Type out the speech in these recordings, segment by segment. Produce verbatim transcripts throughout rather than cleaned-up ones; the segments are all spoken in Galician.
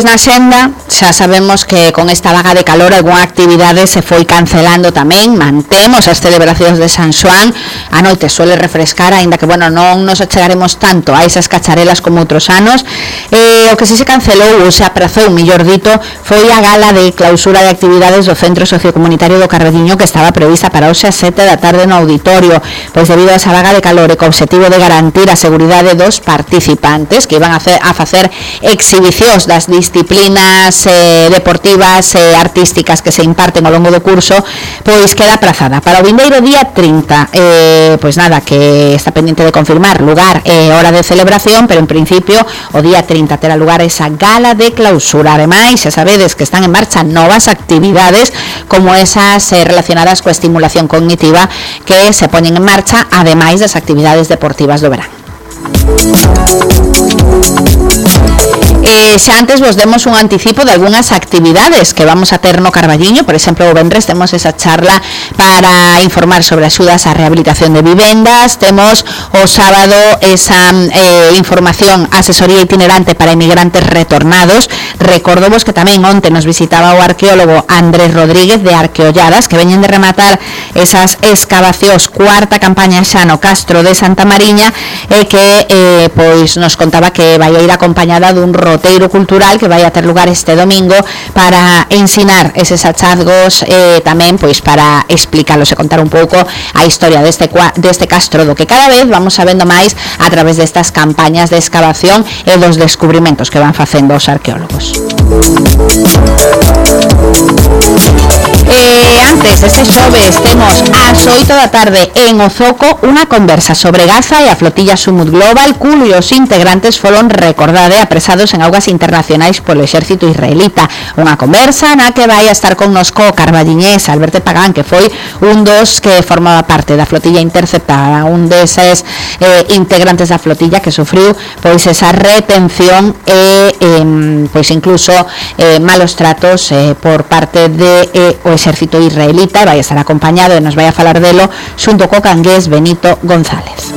Pois na xenda xa sabemos que con esta vaga de calor algunha actividade se foi cancelando tamén. Mantemos as celebracións de San Xoán. A noite suele refrescar, aínda que, bueno, non nos achegaremos tanto a esas cacharelas como outros anos. Eh, o que si se cancelou ou se aprazou, mellor dito, foi a gala de clausura de actividades do Centro Sociocomunitario do Carballiño, que estaba prevista para hoxe a sete da tarde no auditorio, pois debido a esa vaga de calor e co obxectivo de garantir a seguridade dos participantes que iban a, hacer, a facer exhibicións das disciplinas eh, deportivas e eh, artísticas que se imparten ao longo do curso, pois queda aprazada para o vindeiro día trinta. Eh, pois nada, que está pendiente de confirmar lugar e eh, hora de celebración, pero en principio o día trinta terá lugar esa gala de clausura. Ademais, xa sabedes que están en marcha novas actividades como esas eh, relacionadas coa estimulación cognitiva que se poñen en marcha, ademais das actividades deportivas do verán. Eh, xa antes vos demos un anticipo de algunhas actividades que vamos a ter no Carballiño. Por exemplo, o venres temos esa charla para informar sobre axudas á rehabilitación de vivendas. Temos o sábado esa eh, información, asesoría itinerante para inmigrantes retornados. Recordovos que tamén onte nos visitaba o arqueólogo Andrés Rodríguez de Arqueolladas, que veñen de rematar esas excavacións, cuarta campaña xa no Castro de Santa Mariña, e que eh, pois nos contaba que vai a ir acompañada dun roteiro cultural que vai a ter lugar este domingo para ensinar eses hallazgos, eh, tamén pois para explicalos e contar un pouco a historia deste, deste castro, do que cada vez vamos sabendo máis a través destas campañas de excavación e dos descubrimentos que van facendo os arqueólogos. Eh, antes, este xoves, temos ás oito da tarde en Ozoco unha conversa sobre Gaza e a flotilla Sumut Global, cuyos integrantes foron, recordade, apresados en augas internacionais polo exército israelita. Unha conversa na que vai a estar connosco o carballiñés Alberto Pagán, que foi un dos que formaba parte da flotilla interceptada, un deses eh, integrantes da flotilla que sufriu pois esa retención e eh, pois incluso eh, malos tratos eh, por parte de eh, o exército israelita. Vai a estar acompañado e nos vai a falar delo xunto co cangués Benito González.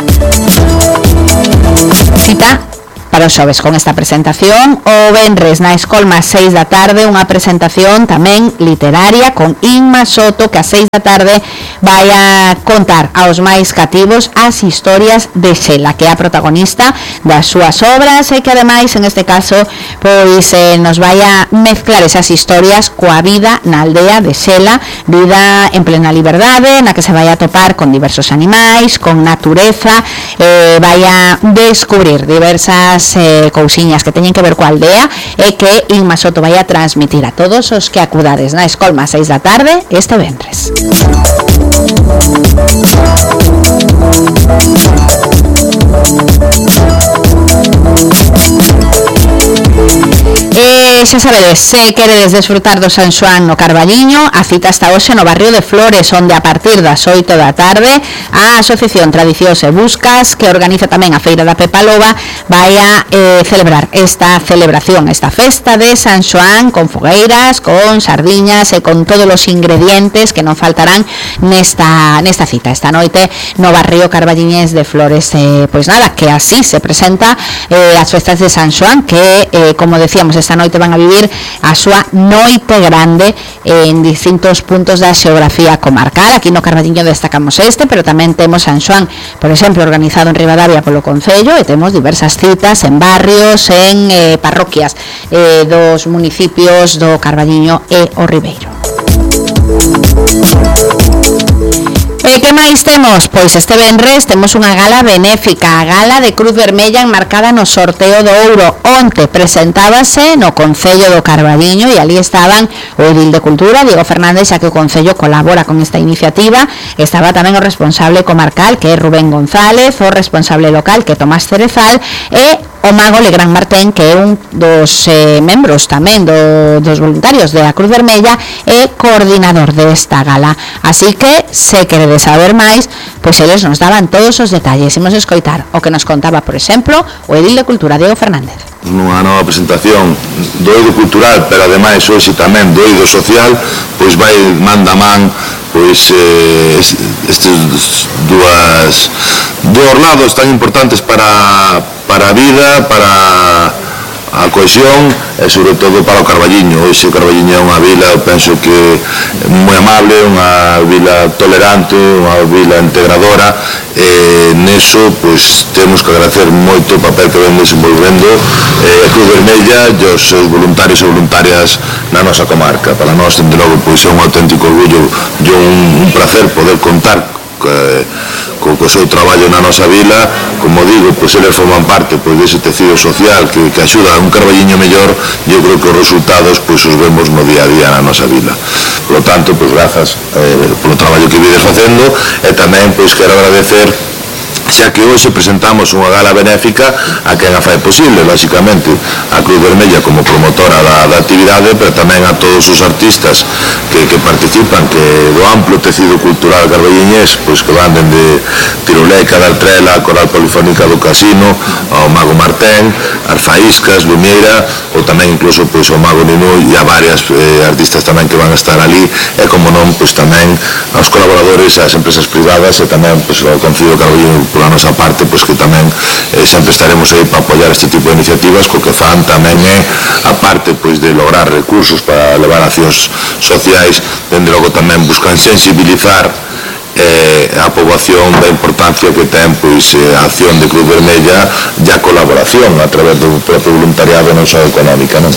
Cita para os xoves con esta presentación. O venres na Escolma seis da tarde, unha presentación tamén literaria con Inma Soto, que a seis da tarde vai a contar aos máis cativos as historias de Xela, que é a protagonista das súas obras e que ademais en este caso pois eh, nos vai a mezclar esas historias coa vida na aldea de Xela, vida en plena liberdade, na que se vai a topar con diversos animais, con natureza, eh, vai a descubrir diversas Eh, cousiñas que teñen que ver coa aldea e que Inma Soto vai a transmitir a todos os que acudades na Escolma seis da tarde este venres. E xa sabedes, se queredes desfrutar do San Xoán no Carballiño, a cita está hoxe no barrio de Flores, onde a partir das oito da tarde a Asociación Tradicións e Buscas, que organiza tamén a Feira da Pepa Loba, vai a eh, celebrar esta celebración, esta festa de San Xoán, con fogueiras, con sardiñas e con todos os ingredientes que non faltarán nesta, nesta cita esta noite no barrio carballiñés de Flores. Eh, pois nada, que así se presenta eh, as festas de San Xoán, que eh, como decíamos, esta noite van a vivir a súa noite grande en distintos puntos da xeografía comarcal. Aquí no Carballiño destacamos este, pero tamén temos San Xoán, por exemplo, organizado en Ribadavia polo Concello, e temos diversas citas en barrios, en eh, parroquias eh, dos municipios do Carballiño e o Ribeiro. E que máis temos? Pois este venres temos unha gala benéfica, a gala de Cruz Vermella enmarcada no sorteo do ouro. Onte presentábase no Concello do Carballiño e ali estaban o edil de Cultura, Diego Fernández, xa que o Concello colabora con esta iniciativa. Estaba tamén o responsable comarcal, que é Rubén González, o responsable local, que é Tomás Cerezal, e o mago Legrán Martén, que é un dos eh, membros tamén do, dos voluntarios de a Cruz Vermella e coordinador desta gala. Así que, se queredes saber máis, pois eles nos daban todos os detalles. Imos escoitar o que nos contaba, por exemplo, o edil de Cultura, Diego Fernández. Nunha nova presentación do eido cultural, pero ademais hoxe tamén do eido social, pois vai manda man pois eh, estes dúas dos lados tan importantes para para a vida, para a cohesión e sobre todo para o Carballiño. Hoxe Carballiño é unha vila, eu penso que moi amable, unha vila tolerante, unha vila integradora, e neso pois temos que agradecer moito o papel que ven desenvolvendo eh, a Cruz Vermella e os seus voluntarios e voluntarias na nosa comarca. Para nós, dende logo, pois é un auténtico orgullo e un, un placer poder contar eh, co, co seu traballo na nosa vila. Como digo, pois eles forman parte pois dese tecido social que, que axuda a un Carballiño mellor, e eu creo que os resultados pois os vemos no día a día na nosa vila. Por lo tanto, pois grazas eh, polo traballo que vides facendo, e tamén pois quero agradecer, xa que hoxe presentamos unha gala benéfica a quen a fai posible, lóxicamente a Cruz Vermella como promotora da, da actividade, pero tamén a todos os artistas que, que participan, que do amplo tecido cultural carballiñés, pois que van dende Tiruleca, da Altrela, a Coral Polifónica do Casino, ao Mago Martén, as Faíscas, Lumiera, ou tamén incluso pois o Mago Ninú, e a varias eh, artistas tamén que van a estar ali, e como non, pois tamén aos colaboradores, ás empresas privadas, e tamén pois ao Concello de Carballiño pola nosa parte, pois que tamén eh, sempre estaremos aí para apoiar este tipo de iniciativas, co que fan tamén é a parte pois de lograr recursos para levar accións sociais, dende logo tamén buscan sensibilizar eh, a poboación da importancia que ten pois eh, a acción de Cruz Vermella e a colaboración a través do propio voluntariado, non só económica, non?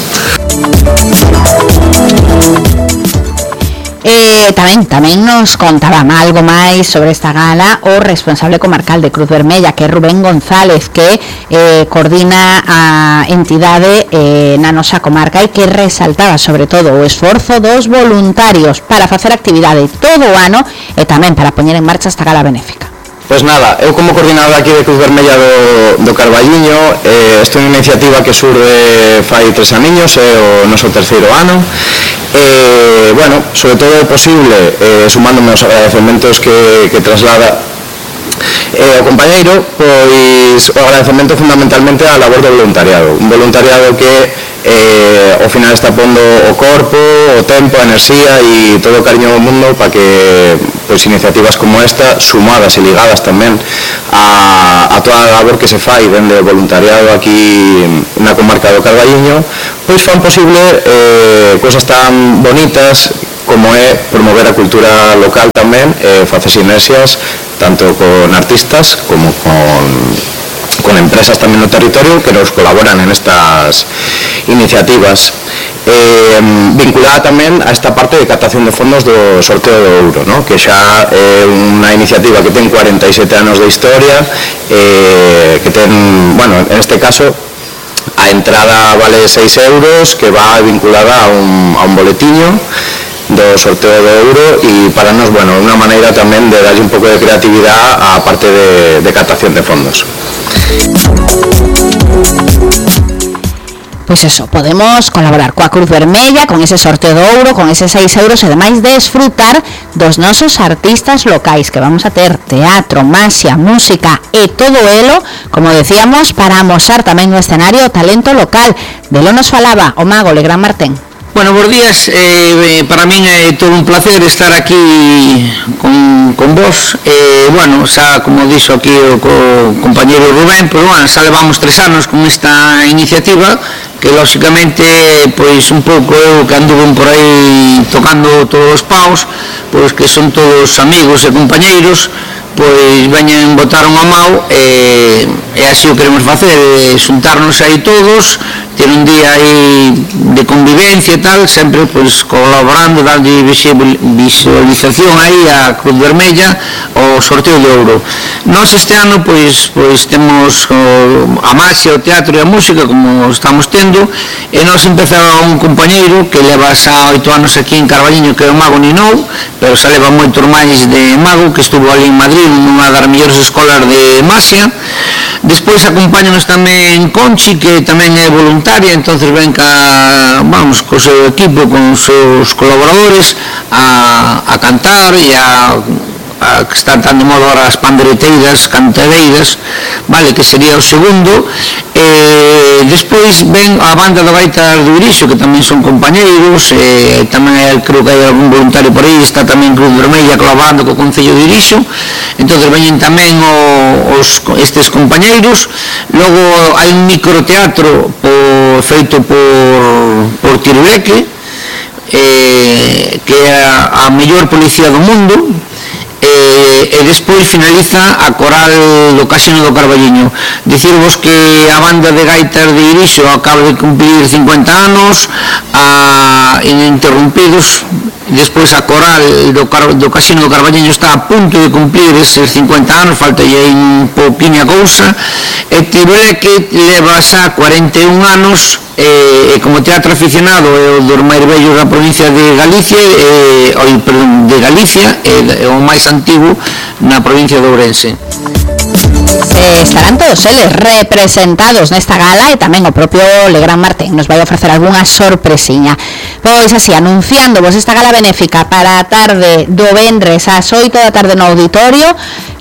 Eh, tamén, tamén nos contaban algo máis sobre esta gala o responsable comarcal de Cruz Vermella, que é Rubén González, que eh, coordina a entidade eh, na nosa comarca, e que resaltaba sobre todo o esforzo dos voluntarios para facer actividade todo o ano e tamén para poñer en marcha esta gala benéfica. Pois nada, eu como coordinador aquí de Cruz Vermella do, do Carballiño, eh, esta é unha iniciativa que surde fai tres aniños, é eh, o noso terceiro ano. Eh, bueno, sobre todo é posible, eh, sumándome aos agradecementos que, que traslada eh, o compañeiro, pois o agradecemento fundamentalmente á labor do voluntariado, un voluntariado que eh, ao final está pondo o corpo, o tempo, a enerxía e todo o cariño do mundo para que pois, iniciativas como esta, sumadas e ligadas tamén a, a toda a labor que se fai dende o voluntariado aquí na comarca do Carballiño, pois fan posible eh, cousas tan bonitas como é promover a cultura local tamén, eh, facer sinerxias tanto con artistas como con con empresas tamén no territorio que nos colaboran en estas iniciativas, eh, vinculada tamén a esta parte de captación de fondos do sorteo do Ouro, ¿no? Que xa é unha iniciativa que ten cuarenta e sete anos de historia, eh, que ten, bueno, en este caso a entrada vale seis euros, que va vinculada a un, a un boletiño do sorteo do Ouro, e para nos, bueno, unha maneira tamén de darlle un pouco de creatividade á parte de, de captación de fondos. Pois eso, podemos colaborar coa Cruz Vermella con ese sorteo do Ouro, con eses seis euros, e ademais desfrutar dos nosos artistas locais, que vamos a ter teatro, maxia, música e todo elo, como decíamos, para amosar tamén no escenario o talento local. De lo nos falaba o Mago Legrán Martén. Bueno, bons días, eh, para min é todo un placer estar aquí con, con vos. Eh, bueno, xa como dixo aquí o co compañeiro Rubén, pois, bueno, xa levamos tres anos con esta iniciativa, que lóxicamente, pois un pouco eu que anduve por aí tocando todos os paus, pois que son todos amigos e compañeiros, pois veñen botar unha mão, e, e así o queremos facer, e xuntarnos aí todos, ter un día aí de convivencia e tal, sempre pois colaborando, dando visualización aí a Cruz Vermella o sorteo de Ouro. Nós este ano pois pois temos o, a maxia, o teatro e a música, como estamos tendo, e nós empezaba un compañeiro que leva xa oito anos aquí en Carballiño, que é o Mago Ninou, pero xa leva moitos máis de Mago, que estuvo ali en Madrid nunha das mellores escolas de maxia. Despois acompáñanos tamén Conchi, que tamén é voluntaria, entonces ven ca, vamos, co seu equipo, con os seus colaboradores a, a cantar e a a que están tan de moda ahora as pandereteiras, cantadeiras, vale, que sería o segundo. Eh, despois ven a banda da Gaita do Irixo, que tamén son compañeiros, eh, tamén hai, creo que hai algún voluntario por aí, está tamén Cruz Vermella colaborando co Concello de Irixo, entón veñen tamén o, os, estes compañeiros. Logo hai un microteatro por, feito por, por Tiruleque, eh, que é a, a mellor policía do mundo. E, e despois finaliza a coral do Casino do Carballiño. Dicirvos que a banda de gaitas de Irixo acaba de cumplir cincuenta anos, a ininterrumpidos. Despois a coral do, do Casino do Carballiño está a punto de cumplir eses cincuenta anos, falta aí un pouquinha cousa. E Tiruleque leva xa cuarenta e un anos, e, e como teatro aficionado é o dos máis vellos da provincia de Galicia, e, oi, perdón, de Galicia, e, e o máis antigo na provincia de Ourense. Eh, estarán todos eles representados nesta gala, e tamén o propio Legrand Martín nos vai ofrecer algunha sorpresiña. Pois así, anunciándovos esta gala benéfica para a tarde do vendres ás oito da tarde no auditorio.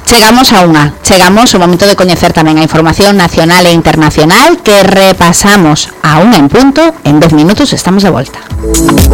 Chegamos a unha, chegamos ao momento de coñecer tamén a información nacional e internacional que repasamos a unha en punto. En dez minutos estamos de volta.